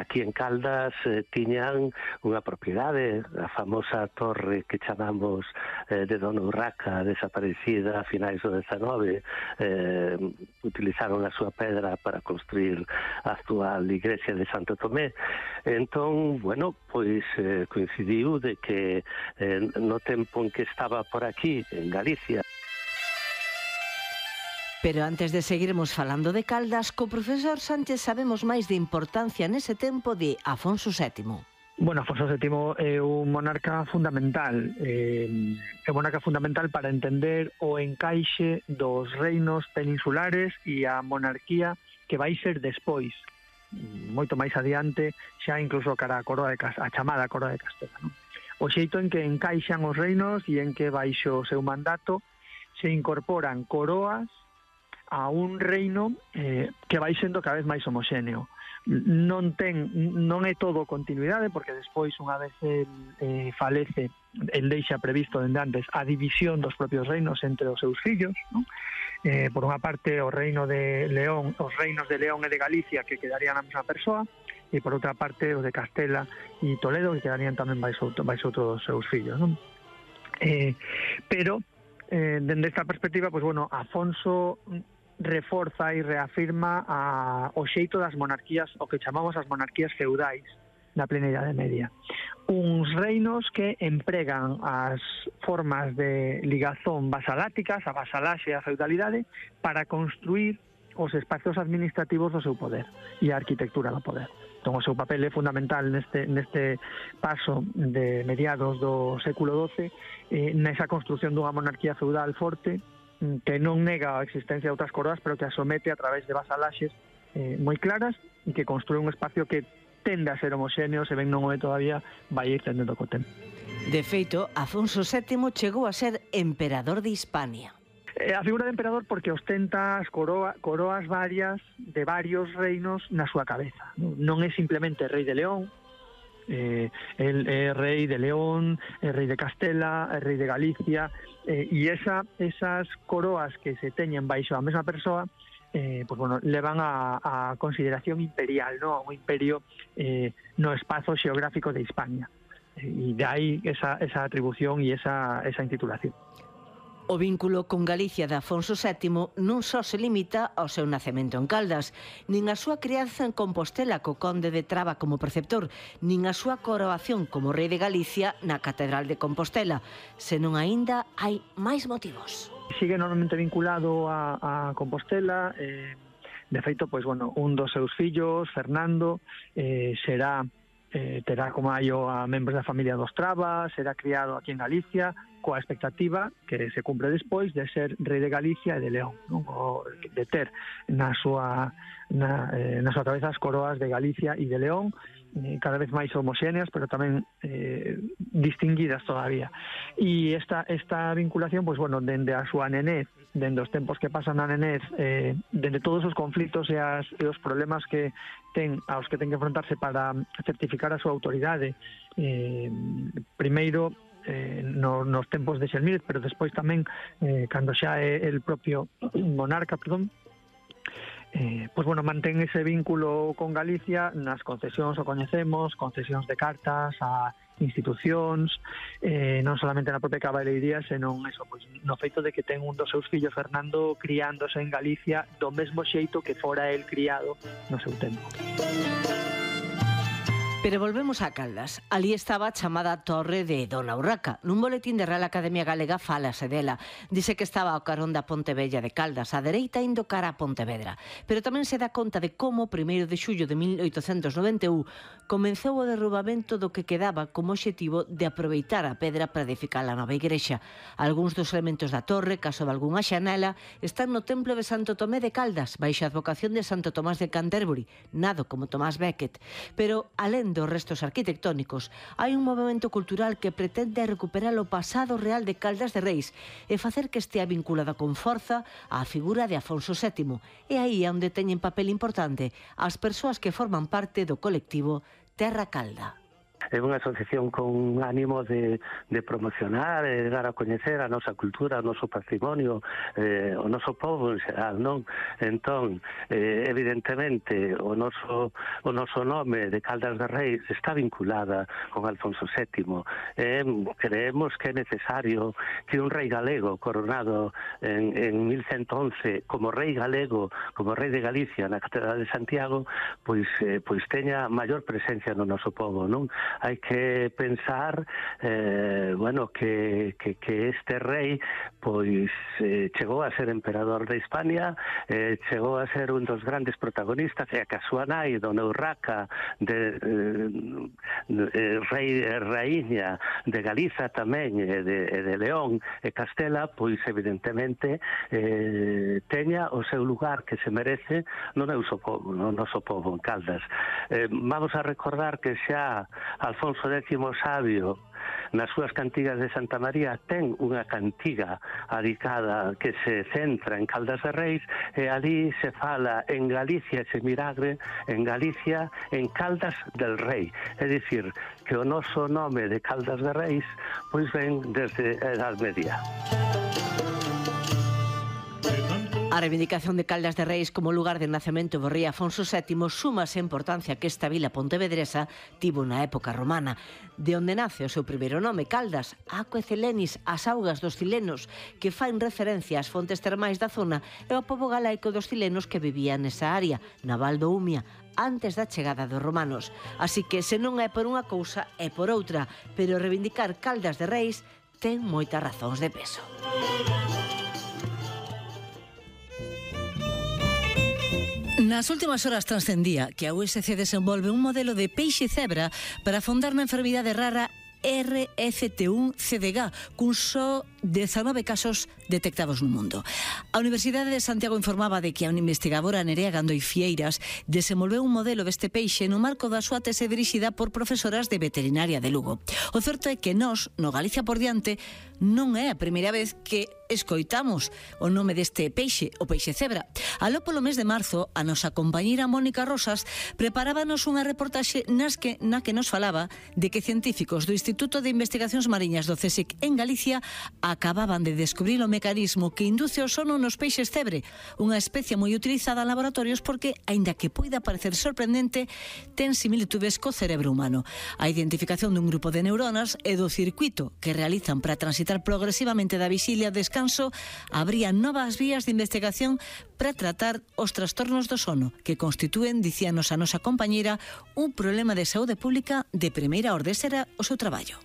aquí en Caldas tiñan unha propiedade, a famosa torre que chamamos de Dona Urraca, desaparecida a finais do XIX. Utilizaron a súa pedra para construir a actual iglesia de Santo Tomé. Entón, bueno, pois coincidiu de que no tempo en que estaba por aquí, en Galicia. Pero antes de seguirmos falando de Caldas, co profesor Sánchez sabemos máis de importancia nese tempo de Afonso VII. Bueno, Afonso VII é un monarca fundamental. É un monarca fundamental para entender o encaixe dos reinos peninsulares e a monarquía que vai ser despois, moito máis adiante, xa incluso cara a coroa de a chamada coroa de Castela, non? O xeito en que encaixan os reinos e en que baixo o seu mandato se incorporan coroas a un reino que vai sendo cada vez máis homoxéneo. Non é todo continuidade, porque despois, unha vez falece, el deixa previsto dende antes a división dos propios reinos entre os seus fillos, non? Por unha parte os reinos de León e de Galicia, que quedarían a mesma persoa, e por outra parte os de Castela e Toledo, que quedarían tamén baixo outro dos seus fillos, non? Pero dende esta perspectiva, pues bueno, Afonso reforza e reafirma o xeito das monarquías, o que chamamos as monarquías feudais na plena Idade Media. Uns reinos que empregan as formas de ligazón vasaláticas, a vasalaxe e a feudalidade, para construir os espacios administrativos do seu poder e a arquitectura do poder. Entón, o seu papel é fundamental neste paso de mediados do século XII, nesa construción dunha monarquía feudal forte, que non nega a existencia de outras coroas, pero que a somete a través de vasalaxes moi claras e que construe un espacio que tende a ser homoxéneo, se ben non o é todavía, vai ir tendendo co tempo. De feito, Afonso VII chegou a ser emperador de Hispania. A figura de emperador porque ostenta as coroas varias de varios reinos na súa cabeza. Non é simplemente rei de León, el é rei de León, é rei de Castela, é rei de Galicia, e esas coroas que se teñen baixo a mesma persoa, pues bueno, levan a consideración imperial, ¿no? Un imperio no espazo xeográfico de Hispania, e de aí esa atribución e esa intitulación. O vínculo con Galicia de Afonso VII non só se limita ao seu nacemento en Caldas, nin a súa crianza en Compostela co conde de Traba como preceptor, nin a súa coroación como rei de Galicia na Catedral de Compostela, senón aínda hai máis motivos. Sigue enormemente vinculado a Compostela. De feito, pois, bueno, un dos seus fillos, Fernando, terá como aio a membros da familia dos Traba, será criado aquí en Galicia, coa expectativa que se cumpre despois de ser rei de Galicia e de León, non? De ter na súa cabeza as coroas de Galicia e de León, cada vez máis homoxéneas, pero tamén distinguidas todavía. E esta vinculación, pues bueno, dende a súa nenez, dende os tempos que pasan na nenez, dende todos os conflitos e os problemas aos que ten que enfrontarse para certificar a súa autoridade, primeiro nos tempos de Xelmírez, pero despois tamén cando xa é el propio monarca, pues bueno, mantén ese vínculo con Galicia nas concesións, o coñecemos, concesións de cartas a institucións, non solamente na propia cabaleiría, senón eso, pues, no feito de que ten un dos seus fillos, Fernando, criándose en Galicia do mesmo xeito que fora el criado no seu tempo. Pero volvemos a Caldas. Ali estaba a chamada Torre de Dona Urraca. Nun boletín de Real Academia Galega fálase dela. Dice que estaba ao carón da Ponte Vella de Caldas, á dereita indo cara a Pontevedra. Pero tamén se dá conta de como, 1 de xullo de 1891, comenzou o derrubamento do que quedaba como obxectivo de aproveitar a pedra para edificar a nova igrexa. Algúns dos elementos da torre, caso de algunha xanela, están no templo de Santo Tomé de Caldas, baixo a advocación de Santo Tomás de Canterbury, nado como Tomás Becket. Pero, alén dos restos arquitectónicos, hai un movimento cultural que pretende recuperar o pasado real de Caldas de Reis e facer que estea vinculada con forza á figura de Afonso VII. E aí é onde teñen papel importante as persoas que forman parte do colectivo Terra Calda. é unha asociación con ánimo de promocionar e dar a coñecer a nosa cultura, o noso patrimonio, o noso povo en xeral, non? Entón, evidentemente, o noso nome de Caldas de Reis está vinculada con Alfonso VII. Creemos que é necesario que un rei galego coronado en 1111 como rei galego, como rei de Galicia na Catedral de Santiago, pois teña maior presencia no noso povo, non? Hai que pensar que este rei pois chegou a ser emperador de Hispania, chegou a ser un dos grandes protagonistas, e que a súa nai, Dona Urraca, rei e raíña de Galiza tamén, e de León e Castela, pois evidentemente teña o seu lugar que se merece no noso povo en Caldas. Vamos a recordar que xa Alfonso X Sabio, nas súas cantigas de Santa María, ten unha cantiga adicada que se centra en Caldas de Reis, e ali se fala en Galicia ese milagre, en Galicia en Caldas del Rei. É dicir, que o noso nome de Caldas de Reis pois ven desde a Edad Media. A reivindicación de Caldas de Reis como lugar de nacemento do rei Afonso VII súmase a importancia que esta vila pontevedresa tivo na época romana, de onde nace o seu primeiro nome, Caldas, Aquae Celenis, as augas dos cilenos, que faen referencia ás fontes termais da zona e ao pobo galaico dos cilenos que vivían nesa área, na Val do Umia, antes da chegada dos romanos. Así que, se non é por unha cousa, é por outra, pero reivindicar Caldas de Reis ten moitas razóns de peso. Nas últimas horas transcendía que a USC desenvolve un modelo de peixe cebra para afondar na enfermidade rara RFT1-CDG, cun só 19 casos detectados no mundo. A Universidade de Santiago informaba de que a investigadora Nerea Gandoi Fieiras desenvolveu un modelo deste peixe no marco da súa tese dirixida por profesoras de veterinaria de Lugo. O certo é que nós, no Galicia por diante, non é a primeira vez que escoitamos o nome deste peixe, o peixe cebra. Aló polo mes de marzo, a nosa compañeira Mónica Rosas preparábanos unha reportaxe na que nos falaba de que científicos do Instituto de Investigacións Mariñas do CSIC en Galicia acababan de descubrir o mecanismo que induce o sono nos peixes cebre, unha especie moi utilizada en laboratorios porque, aínda que poida parecer sorprendente, ten similitudes co cerebro humano. A identificación dun grupo de neuronas e do circuito que realizan para transitar progresivamente da vixilia a descanso abría novas vías de investigación para tratar os trastornos do sono, que constitúen, dicíanos a nosa compañeira, un problema de saúde pública de primeira orde. Será o seu traballo.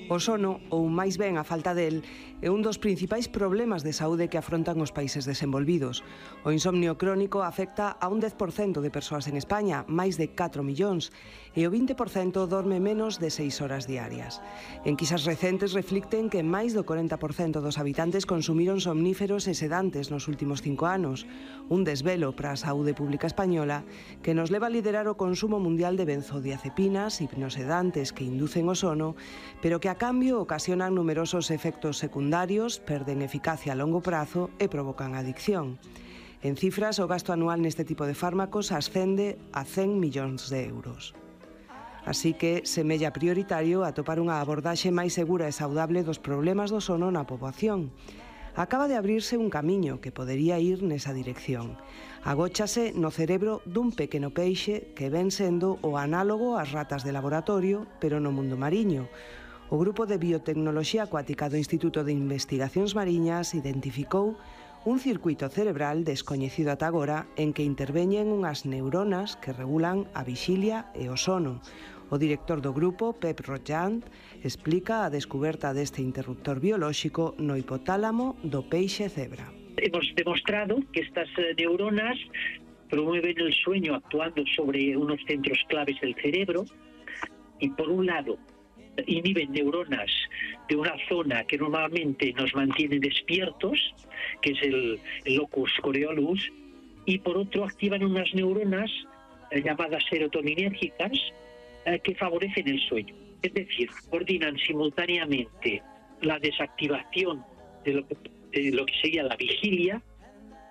O sono, ou máis ben a falta del, é un dos principais problemas de saúde que afrontan os países desenvolvidos. O insomnio crónico afecta a un 10% de persoas en España, máis de 4 millóns, e o 20% dorme menos de 6 horas diarias. Enquisas recentes reflicten que máis do 40% dos habitantes consumiron somníferos e sedantes nos últimos 5 anos, un desvelo para a saúde pública española que nos leva a liderar o consumo mundial de benzodiazepinas, hipnosedantes que inducen o sono, pero que a cambio ocasionan numerosos efectos secundarios, perden eficacia a longo prazo e provocan adicción. En cifras, o gasto anual neste tipo de fármacos ascende a 100 millóns de euros. Así que semella prioritario atopar unha abordaxe máis segura e saudable dos problemas do sono na poboación. Acaba de abrirse un camiño que podería ir nesa dirección. Agóchase no cerebro dun pequeno peixe que ven sendo o análogo ás ratas de laboratorio, pero no mundo mariño. O Grupo de Biotecnoloxía Acuática do Instituto de Investigacións Mariñas identificou un circuito cerebral descoñecido ata agora en que interveñen unhas neuronas que regulan a vixilia e o sono. O director do grupo, Pep Rojant, explica a descuberta deste interruptor biolóxico no hipotálamo do peixe cebra. Hemos demostrado que estas neuronas promueven el sueño actuando sobre unos centros claves del cerebro y, por un lado, inhiben neuronas de una zona que normalmente nos mantiene despiertos, que es el locus coeruleus, y por otro activan unas neuronas llamadas serotoninérgicas que favorecen el sueño. Es decir, coordinan simultáneamente la desactivación de lo que sería la vigilia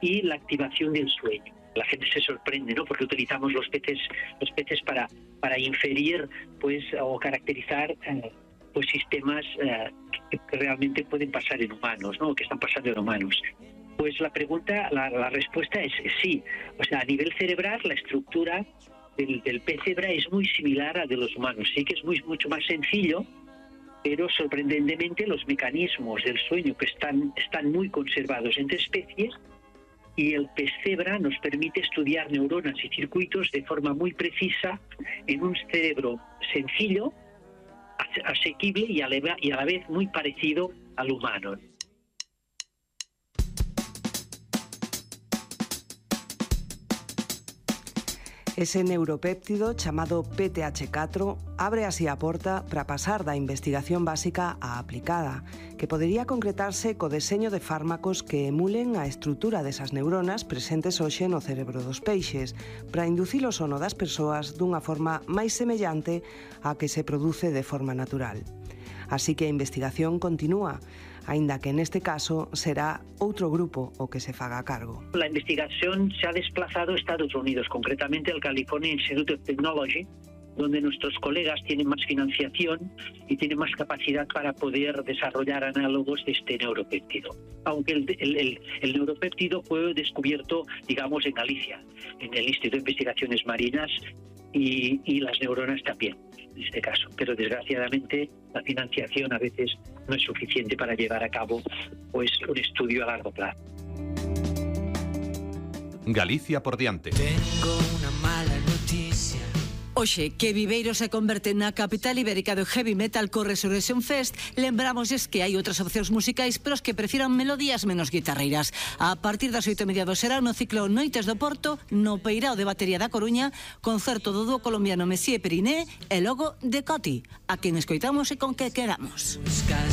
y la activación del sueño. La gente se sorprende, ¿no? Porque utilizamos los peces para inferir, pues, o caracterizar pues sistemas que realmente pueden pasar en humanos, ¿no? Que están pasando en humanos. Pues la respuesta es sí. O sea, a nivel cerebral, la estructura del pez cebra es muy similar a la de los humanos. Sí que es mucho más sencillo, pero sorprendentemente los mecanismos del sueño que están muy conservados entre especies, y el pez cebra nos permite estudiar neuronas y circuitos de forma muy precisa en un cerebro sencillo, asequible y a la vez muy parecido al humano. Ese neuropéptido chamado PTH4 abre así a porta para pasar da investigación básica á aplicada, que podería concretarse co deseño de fármacos que emulen a estrutura desas neuronas presentes hoxe no cerebro dos peixes, para inducir o sono das persoas dunha forma máis semellante á que se produce de forma natural. Así que a investigación continúa, aínda que neste caso será outro grupo o que se faga a cargo. La investigación se ha desplazado a Estados Unidos, concretamente al California Institute of Technology, donde nuestros colegas tienen más financiación y tienen más capacidad para poder desarrollar análogos de este neuropéptido. Aunque el neuropéptido fue descubierto, digamos, en Galicia, en el Instituto de Investigaciones Marinas, y las neuronas también, en este caso. Pero desgraciadamente la financiación a veces no es suficiente para llevar a cabo, pues, un estudio a largo plazo. Galicia por diante. Tengo una mala noticia. Oxe, que Viveiro se converte na capital ibérica do heavy metal co Resurrection Fest, lembramosles que hai outras opcións musicais, pero os que prefieran melodías menos guitarreiras. A partir das 8:30 do serán no ciclo Noites do Porto, no Peirao de Batería da Coruña, concerto do dúo colombiano Messier Periné e logo de Coti, a quen escoitamos e con que quedamos.